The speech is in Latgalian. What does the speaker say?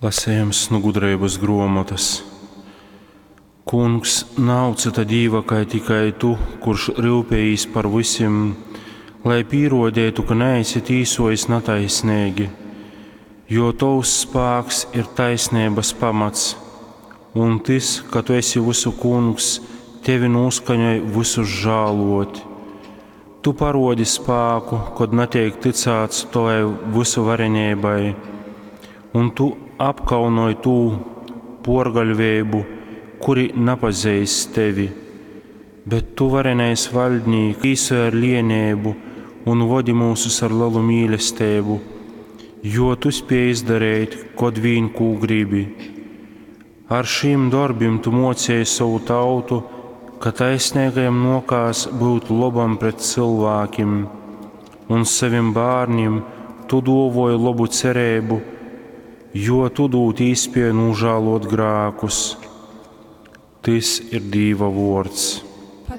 Lasejums nu gudreibys gruomotys. Kungs, nav cyta Dīva kai tikai tu, kurš ryupejīs par vysim, lai pīruodeitu, ka naesi tīsuojis nataisneigi, jo tovs spāks ir taisneibys pamats, un tys, ka tu esi vysu kungs, tevi nūskaņoj vysus žāluot. Tu paruodi spāku, kod nateik tycāts tovai vysuvareneibai, un tu apkaunoj tū puorgaļveibu, kuri napazeist tevi. Bet tu, varenais vaļdnīk, tīsoj ar lieneibu un vodi myusus ar lelu mīlesteibu, jo tu spiej izdareit, kod vīn kū gribi. Ar šīm dorbim tu muocēji sovu tautu, ka taisneigajam nuokās byut lobam pret cylvākim, un sovim bārnim tu duovuoji lobu cereibu, jo tu dūd īspēju nūžāluot grākus. Tys ir Dīva vuords.